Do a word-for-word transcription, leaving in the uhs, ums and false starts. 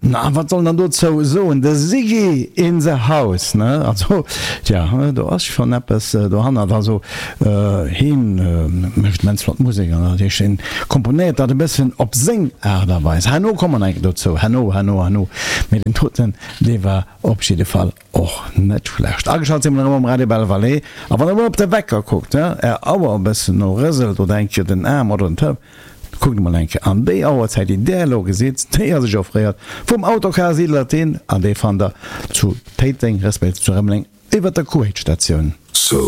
Na, wat soll een dann dozou soen? De Siggy in the house, ne? Also, tja, do ass schonn eppes dohannert. Also, hien mécht immens flott Musek an dat heescht, hien komponéiert dat e bëssen op seng Aart a Weis. Herno komme mer nach eng Kéier dozou, herno, herno, herno. Mee deen doten, dee war op jidde Fall och net schlecht. Ageschalt si mer erëm um Radio Belle Vallée. A wann der emol op de Wecker kuckt, är Auer e bëssen no rëselt oder eng Kéier den Aarm oder den Telefon, kuckt emol eng Kéier an déi Auerzäit, déi där elo gesitt, déi ass iech offréiert vum Autocar Siedler Thin an dee fannt der zu Téiteng respektiv zu Rëmeleng iwwert der Kuwait-Statioun. So